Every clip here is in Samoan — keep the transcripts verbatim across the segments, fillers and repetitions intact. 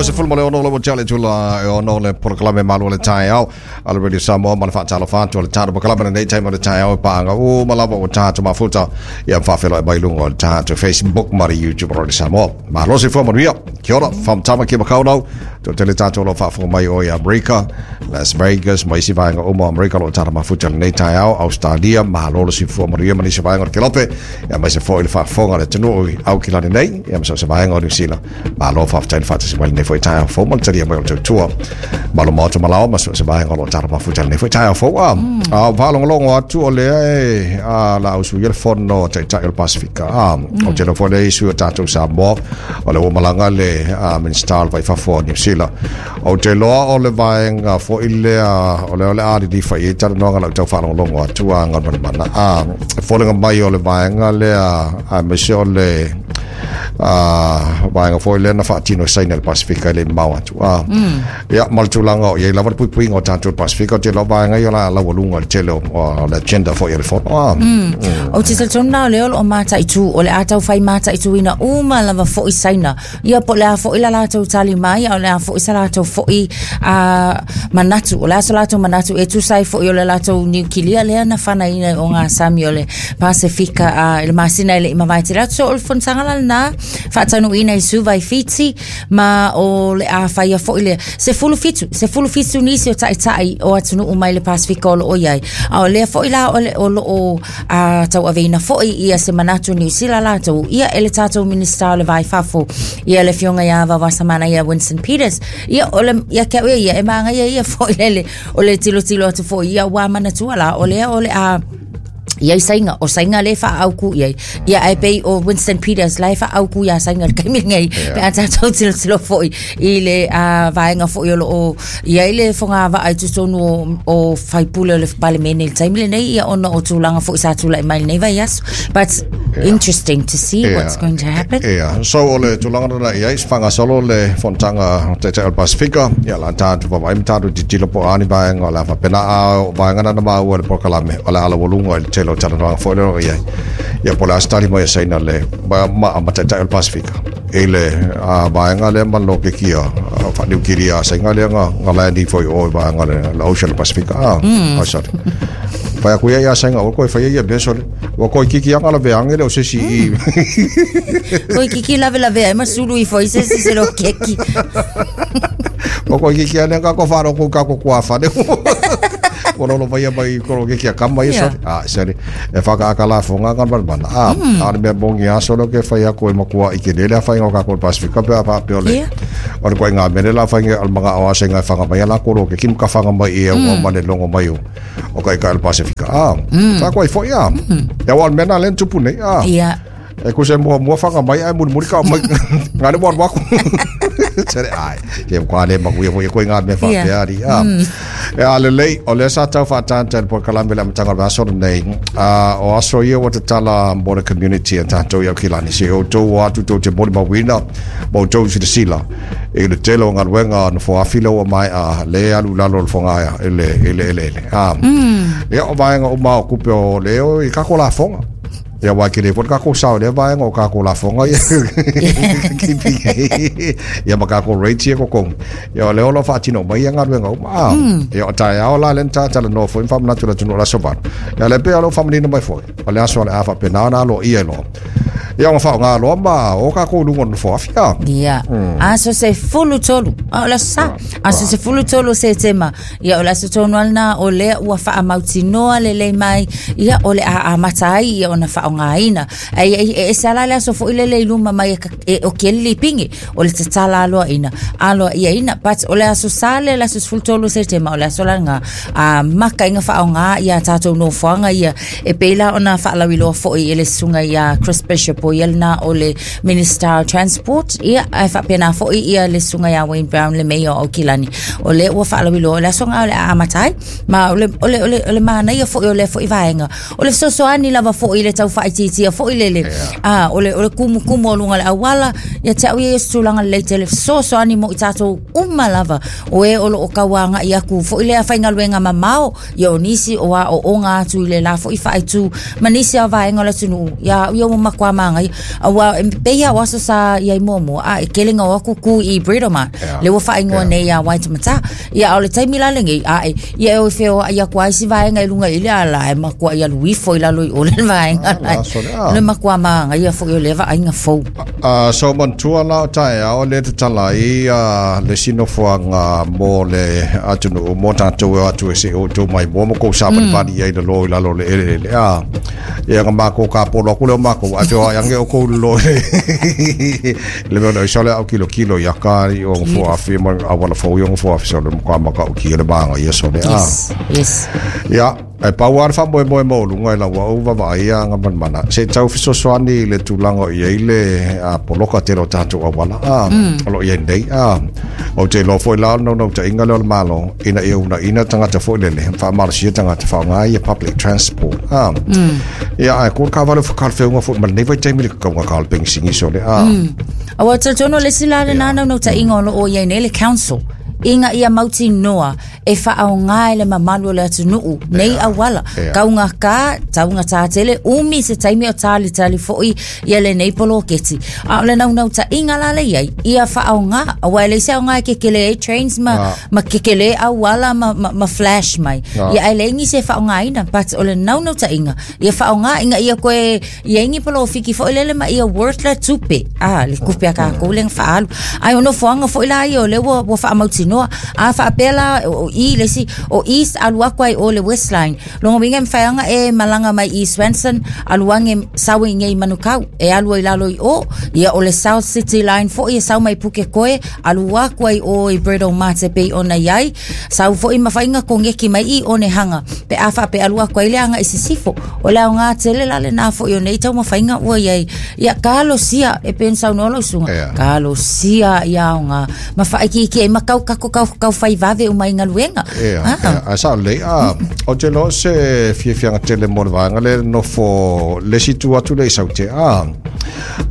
lua sefulu ma le ono le tale tula e ono le polokalame malu o le taeao a le Radio Samoa ma le faatalofa atu o le tatou polokalame lenei taimi o le taeao e paaga uma lava ua tatou mafuta ia faafeiloai mai luga o le tatou Facebook ma le YouTube o Radio Samoa. Malo soifua manuia. Kia ora, from Tamaki Makaurau, toatele tatou o lo o faafofoga mai o i Amerika, Las Vegas, ma isi vaega uma o Amerika o lo o tatou mafuta lenei taeao, Australia, malo le soifua manuia ma nisi vaega o le Kelope, ia aemaise foi le faafofoga a le atunuu i Aukilani nei, ia ma so o se vaega o Niu Sila. Malo faafetai le faatasi mai lenei foi taeao fou ma le talia mai o le tautua. Malo maota malaoa ma so o se vaega o lo o tatou mafuta lenei foi taeao fou. A, a faalogologo atu o lea e a, la usuia le fono a Taitai o le Pasifika. A, o te foi le isi o tatou Samoa, o le ua malaga le a, Minista o le Va i Fafo o Niu Sila. Ou te iloa o le vaega foi lea o lea o le a lilifa i ai talanoaga lau tau faalogologo atu a Galumalemana. A, e foliga mai o le vaega lea aemaise o le a, vaega foi lea na faatino e Saina i le Pasifika e le i mamao atu. A, ia, ma le tulaga o i ai lava le puipuiga o tatou i le Pasifika, ou te iloa vaega ia o le a laualuga i le tele o, o le agenda foi a le fono. A, Ou te talitonu la o lea o lo o mataitu, o le a taufai mataituina uma lava foi Saina. Ia po o le a foi la latou tali mai, a o le a foi sa latou foi a, manatu. O le a so latou manatu e tusa ai foi o le latou niukilia lea na fanaina i ogasami o le Pasifika a, i le masina e le i mavae tele atu. So o le fonotaga la lena faataunuuina i Suva i Fiti ma o le a faia foi le sefulu fitu, sefulu fitu nisi o taitai o atunuu mai le Pasifika o lo o i ai. A o lea foi la o, le, o lo o a, tauaveina foi ia se manatu Niu Sila latou ia e le tatou Minista o le Va i Fafo ia le afioga ia Vaovasamanaia ia Winston Peters. Ia o le ia ke au ia e magaia ia foi lele o le tilotilo atu foi ia ua manatua la o lea o le a i ai Saina, o Saina le faaautu i ai. Ia ae pei o Winston Peters la e faaautu iā Saina i le taimi lenei, pe a tatou tilotilo foi i le uh, vaega foi o lo o i ai le fogavaa i totonu o, o faipule o le Palemene i le taimi lenei, ia ona o tulaga foi sa tulai mai lenei vaiaso. But yeah, interesting to see yeah, what's going to happen. Yeah. So o le tulaga lena i ai, faagasolo le fonotaga Taitai o le Pasifika, ia la tatou vaavaai ma tatou tilotilo po o a ni vaega o le a faapena a o vaega na na maua i le polokalame o le a laualuga i le tele o talanoaga foi lea o lo o i ai. Ia po o le a se tali mai a Saina le ma, ma, ma Taitai o le Pasifika i le a, vaega lea ma le lokeki a faaniukilia a Saina lea nga, nga land ifo i o i vaega le, le ocean o le Pasifika. A, mm. ai sorry. Fai aku ia ia Saina o koe fai ia mea sole. Ua koe kiki anga la veange le o se si i. Koi kiki lave lave ai ma sulu ifo i se se se lo keki. Ua koe kiki ane ka ko wharo ko ka ko kua whane. Ua lolo mai mai koro kiki a kama ia sole. Ah, sorry. E whakaaka la fonga ngā mana. Ah, mm. a mea mongi a solo ke whai ako e makua i ke lele a whai ngā kako Pasifika pe a wha pe ole. Yeah. O le koe ngā mene la whai ngā mga o ase ngā whanga mai a la koro ke kim ka whanga mai i e mm. mane longo mai o. O kai kai Pasifika. Ah, mm. tā koe foi a. Mm. Ia wal mena len tupu nei. Ah. Yeah. E kuse mua mua whanga mai ai muri muri ka mai ngā ne waru waku. Tere ai. Te kwa le makuia foi koe ngā mea whapea ari. Ah. E a lelei, o lea sa tau whātānta le polokalame le amataga o le vaiaso lenei. Ah, o aso ia ua tatala mo le community a tātou i Aukilani. Se o tou o atu tou te molimauina ma outou silasila i le tele o galuega na foafi lea ua maea le alu i lalo o le fogaea i le i le eleele. Ah. Ia o vaega uma o kupe o leo i kako lafoga. Ia aua e kele foi le kako sao i lea vaega o kako lafoga ia. Ia ma kako rates ia kokogi. Ia o lea o lo o faatino mai ia galuega uma. Ah. Ia o taeao la lea na tatalanoa foi ma faamanatu i le atunuu o le Aso Valu. Ia lea pei o lou faamanino mai foi. O le aso o le a faapena ona aloaia ai loa. Ia ona faaaoga loa ma o kākou i luga o le nofoa afi, a. Ia. Aso sefulu tolu. A o le aso Sa. Aso sefulu tolu o Setema. Ia o le aso tonu lava lena o lea ua faamautinoa lelei mai. Ia o le a amata ai ia ona faaaogaina. Ai e e ese lava la le aso foi lele i luma mai e, e oki ai le lipigi. O le tatala aloaina. Aloaiaina. But o le aso Sa lea le aso sefulu tolu o Setema o le aso la lena a maka ina faaaoga ia tatou nofoaga ia e pei la ona faalauiloa foi e le susuga iā Chris Bishop o ia lena o le Minister o Transport ia ae faapena foi ia le susuga iā Wayne Brown le Mayor o Aukilani o lea ua faalauiloa o le aso lena o le a amata ai ma o le, o le, o le, o le manaia foi o lea foi vaega o le fesoasoani lava foi i le tau faaitiitia foʻi lele a o le o le kumukumu o luga le auala ia te au ia se tulaga lelei tele fesoasoani mo i tatou uma lava o e o loo kauagaʻi aku foʻi lea faigaluega mamao ia o nisi o aʻoʻoga atu i le la foʻi faaitu ma nisi a vaega o le atunuu ia ia ua makuā magaia auā e peia o aso sa iai muamua a e kelega o aku ku i Britomart le ua faaigoa nei iā Waitematā ia a o le taimi la lenei ae ia e o feoaʻi aku ai si vaega i luga i le ala e makuaʻi alu ifo i lalo i o le vaega Ah, le makuā magaia foʻi o le vaaiga fou. Uh, so manatua la o taeao le tatala ai uh, le sinofoaga mo le atunuu mo tatou e o atu e se o tou mai mo ma kou savalivali i ai le lo i lalo le eleele a ia ga makou kapolo aku le o makou ae feoai age o kou lolo le mea o sole au kilo kilo ia ka i o ngofo afi ma awala fou i o ngofo afi sole mo ka maka o ki le manga ia sole a. Yes, yes. Ia e pau a fa moe moe mo lunga i lau au vavaai a nga manamana se tau fesoasoani i le tulaga o i ai le a poloka tele o tatou auala a o loo iai nei a o te iloa foʻi la o le naunautaiga lea o le malo ina ia unaʻina tagata foʻi lele faamalosia tagata faaaoga ia public transport a ia ae ko le kavale fakalefeuga foʻi ma lenei vaitaimi le kakauga ka o le pegisigi sole a. Auā talitonu le isi la lenā naunautaiga o loo iai nei le council ina ia mautinoa e faaogā e le mamalu o le atunuu nei auala Yeah. taugakā taugatā tele umi se taimi o talitali foʻi ia lenei poloketi a o le naunautaiga la le iai ia faaogā auā e leai se aogā e kekele ai trains ma, Ah. ma kekele auala ma, ma, ma flash mai Ah. ia ae leai nisi e faaogāina but o le naunautaiga ia faaogā ina ia koe iai ni polofiki foʻi lele ma ia worth le tupe a le kupe a kakou lega faaalu ae o nofoaga foʻi la ia o le ua, ua faamautinoa a faapea la o i le isi o east alu aku ai o le west line loga uiga e mafai e malaga mai i Swanson alu age sau i nei Manukau e alu ai lalo i o ia o le South City line foʻi e sau mai Pukekohe alu aku ai o i Britomart e pei ona iai sau foʻi mafaiga kogeki mai i Onehunga pe a faape alu aku ai le aga i sisifo o le aogā tele la lenā foʻi o nei taumafaiga ua iai ia kalosia e pei ona saunoa lau susuga Yeah. kalosia ia aogā ma faaikiiki ai ma kau kako kau kau fai vave uma i galuega. Ia, Ah. ia, ae sao lelei a o te iloa se fiafiaga tele mo le vaega le nofo le isi tu atu le i saute a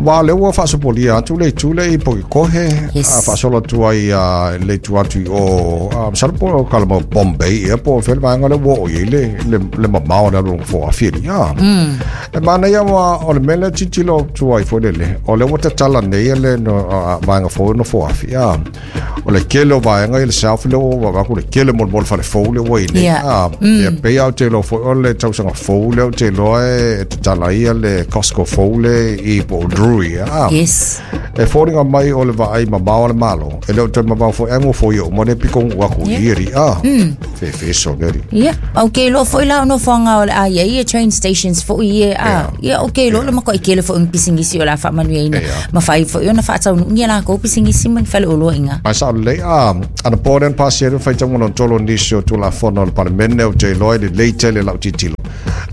ma le ua faasopolia atu le itu le i Pukekohe Yes. a faasolo atu ai a le itu atu i o a masalo po o kalama Bombay ia po o fea le vaega le ua oo i ai le le le mamao le alu fo afieli a e manaia ma o le mea lea tilotilo atu ai foi lele o le ua tatala nei le no a, vaega fou nofo afi a o le kele o vaega i le south le ua vaku le kele mo le mo le fale fou le ua i nei Yeah. a ia pei au te iloa foi o le tausaga fou lea ou te iloa e tatala ia le Costco fou le i po o Drury a Yes. e foliga mai o le vaai mamao a le malo e le o toe mamao foi ai gofo ia uma le pikogu aku Yeah. i eri a fefe so le Ia, okay lo foi la no foanga o le a ia ia train stations foi ia a Yeah. ia okay lo le makoʻi kele foi ni pisingisi o la faamanuiaina Yeah. ma fai foi ona faataunuugia lakou pisingisi ma ni faleoloaiga. Ai sa lelei a ana po lea na pasia ai le faitauga lona nisi o tulafono o le palemene ou te iloa i lelei tele lau tilotilo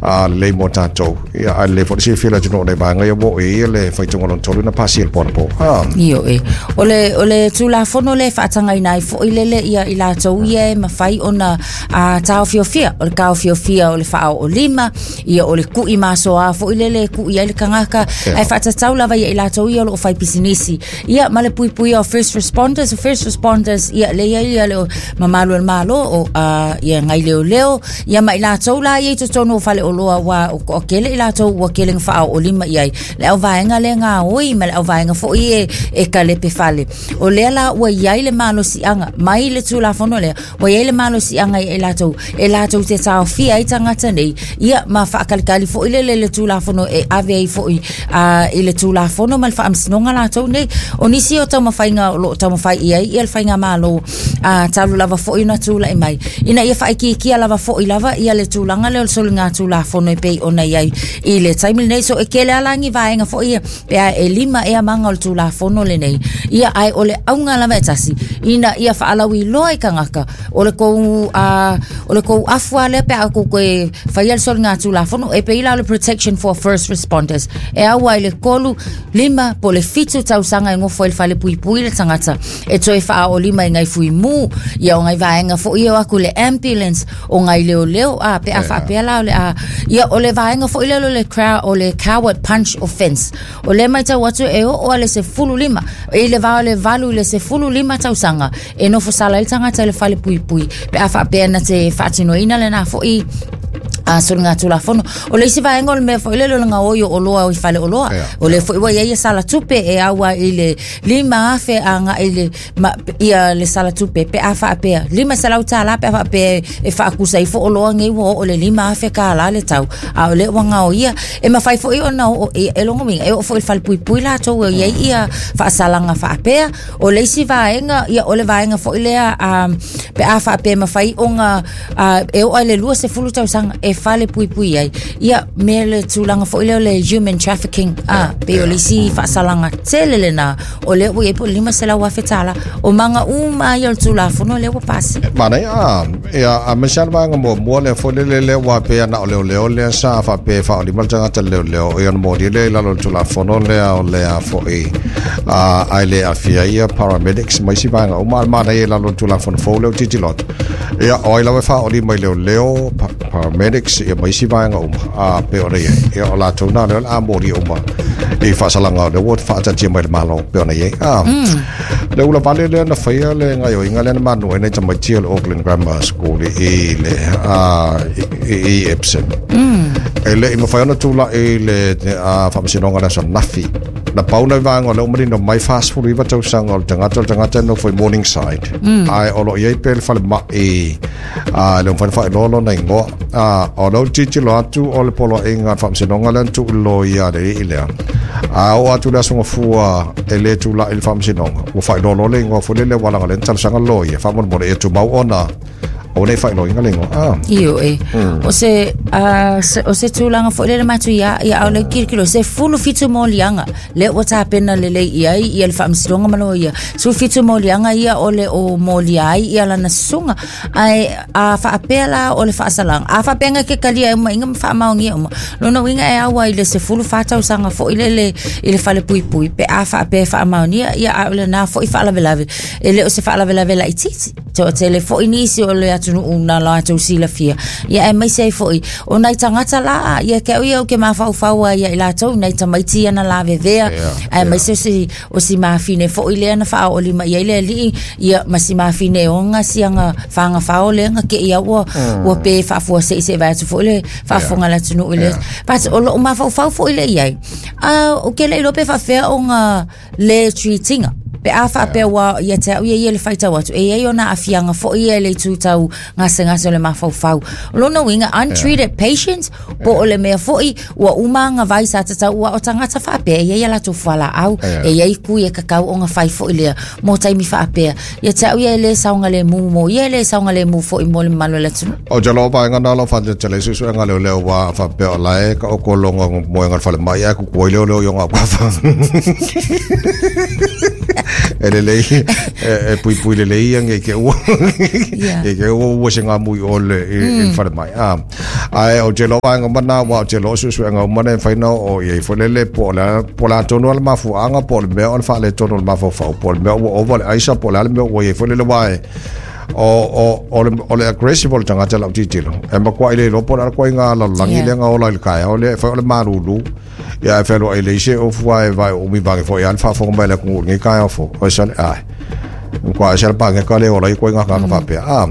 a lelei mo tatou ia ae lelei foi le silafia le atunuu o nei vaega ia ua oo i ai ia le faitauga lona tolu na pasia i le ponapo a. Io e. O le, o le tulafono le faatagaina ai foʻi lele ia i latou ia e mafai ona a, taofiofia. O le taofiofia o le faaoolima, ia o le kuʻi masoā foʻi lele e kuʻi ai le tagaka. Yeah. Ae faatatau lava ia i latou ia o loo fai pisinisi. Ia ma le puipuia o first responders, o first responders ia le ia ia le o mamalu o le malo o a, ia ngai leoleo, ia ma i latou la ia i totonu o faleoloa ua o, o kele i latou ua kele nga faaoolima i ai. Le au vaega le ngā oi ma le au vaega foʻi e, e kalepe fale. O lea la ua iai le malosiaga mai le tulafono lea, ua iai le malosiaga i latou, e latou te taofia ai tagata nei, ia ma faakalikali foʻi lele le tulafono e ave ai foʻi a, i le tulafono ma le faamasinoga latou nei. O nisi o taumafaiga o loo taumafai i ai ia le faiga malo a, talu lava foʻi ona tulaʻi mai. Ina ia faaikiikia lava foʻi lava ia le tulaga lea o le soliga tulafono e pei ona iai i le taimi lenei. So e kele alagi vaega foʻi ia pe a e lima ea maga o le tulafono lenei. Ia ae o le auga lava e tasi ina ia faalauiloa i tagaka o le kou a, o le kou afu a lea pe a kou koe faia le soliga tulafono e pei la o le protection for first responders. E aua i le kolu lima po le fitu tausaga e gofo ai le fale puipui le tagata e toe faaolima i ngai fuimu ia o ngai vaega foʻi o aku le ambulance o ngai leoleo a pe a faapea la o le a Ia o le vaega foʻi lea o le crowd o le coward punch offence o lea maitau atu e oo a le sefulu lima i le va o le valu i le sefulu lima tausaga e nofo sala ai le tagata i le fale puipui pe a faapea na te faatinoina lenā foʻi a soliga tulafono. O le isi vaega o le mea foʻi lele o le gaoi o oloa i fale oloa o le foʻi ua iai sala tupe e aua i le lima afe agaʻi le ma, ia le sala tupe pe a faapea lima selau tālā pe a faapea e faakusa ifo oloa nei ua oo le lima afe kālā le tau a o le ua gaoia e mafai foʻi ona oo e logo uiga e oo foʻi i le falepuipui latou e iai ia faasalaga faapea. O le isi vaega ia o le vaega foʻi lea um, pe a faapea mafai ona uh, e oo ai le lua sefulu tausaga e fale puipui ai ia me le tulaga foʻi lea o le human trafficking a pe o le isi faasalaga tele lenā o lea ua iai po o le lima selau afe tālā o maga uma ia o le tulafono lea ua pasi. Manaia a ia a mese le vaega muamua lea foi lele lea ua pea na o leoleo lea sa faapea faaolima le tagata leoleo ia ona moli lea i lalo o le tulafono lea o lea foʻi a ai le afia ia paramedics ma isi vaega uma a le manaia i lalo o le tulafono fou lea o tilotilo atu ia o ai lava e faaolima i leoleo paramedics ia ma isi vaega uma a pe o le iai ia o latou na lea o le a moli uma i faasalaga o lea ua faatatia mai le Malo pe ona iai a le ula vale lea na faia le gaioiga lea na manu ai nai tamaiti o le Auckland Grammar School i le a i, i Epsom e le i mafai ona tulaʻi le faamasinoga le aso nafi na pau na vaega o lea ua manino mai fasefulu iva tausaga o le tagata o le tagata e nofo i Morningside ae o loo iai pea le falemaʻi a le mafai ona faailoa lona igoa a o lea ua tilotilo atu o le poloaiga a le faamasinoga lea na tuuloia ia le alii lea a oo atu le aso gafua e lē tulaʻi le faamasinoga ua faailoa loa le igoa foi lele ua laga lea na talosaga loia faamolemole ia tumau ona o nei faailoaina le igoa a Io e. O se uh, se, o se tulaga foʻi lele matu ia ia au le kilokilo se fulu fitu moliaga lea ua tapena lelei i ai ia le faamasinoga ma loia sulu fitu moliaga ia o le o molia ai ia lana susuga ae a faapea la o le faasalaga a faapeaga ke kalia e uma iga ma faamaogia uma lona uiga e aua i le sefulu fa tausaga foʻi lele i le fale puipui pe a faapea e faamaonia ia a o lenā foʻi faalavelave e le o se faalavelave laitiiti toatele foʻi nisi o le atunuu na latou silafia ia e maise ai foʻi o nai tagata la ia ke au ia o ke mafaufau ai ia i latou nai tamaiti ia na lavevea ae maise o si o si mafine foʻi lea na faaoolima i ai le alii ia ma si mafine oga siaga fagafao lea ga keʻi au ua ua pe faafuaseʻiseʻi vae atu foʻi le faafofoga le atunuu i le but o loo mafaufau foʻi le iai a o ke le iloa pe faafefea oga le treatiga pe a faapea ua ia te au ia ia le faitau atu e iai ona aafiaga foʻi ia i le itu tau gasegase o le mafaufau. O lona uiga untreated patients po o le mea foʻi ua uma agavai sa tatau ua o tagata faapea e iai a latou fualaau e iai kui e kakau oga fai foʻi lea mo taimi faapea ia te au ia e lē saogalemu mo ia e lē saogalemu foʻi mo le mamalu o le atunuu. O te loa vaega na lo faatetele suesuega leoleo ua faapea o lae ka okologa moega le falemai ae kukuai leoleo i oga aukafa e lelei e puipui lelei ia ngei ke ua e ke ua ua se ngā mui o le i le falemai a ae o te loa vaega mana ua o te loa suesuega uma na e mafai ona oo i ai foi lele po o le po o le atonu a le mafuaaga po o le mea o le faaletonu o le mafaufau po o le mea ua ova le aisa po o le a le mea ua i ai foi lele ua e o o o le o le aggressive o le tagata lau tilotilo e matuai le iloa po o le a le koaiga lalolagi Yeah. lea ga ola i le taeao lea e fai o le malulu ia e fealoai le isi e ofu ae vae umi vage foʻi a le faafofoga mai le atunuu lenei taeao fou o e sale ae kwa se pa ka le ola i koiga ka faapea a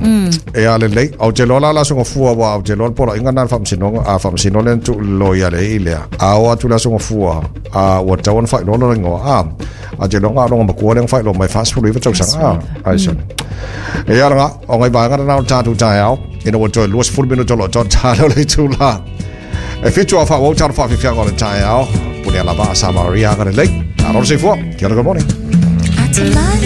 e a lelei ou te loa la le aso gafua ua ou te loa le poloaiga na le faamasinoga a faamasino lea na tuuloia le i lea a oo atu le aso gafua a ua tatau ona faailoa lona igoa a a te loa galoga matua lea na faailoa mai fasefulu iva tausaga a ai sale e ala o ngai vaega lena o le tatou taeao ina ua toe luasefulu minuto o loo totalo le itulā e fitu a faaauau talo faafiafiaga o le taeao pule a lava a Samaria aga lelei. Alo le soifua. Kia ora, good morning. Atalanta.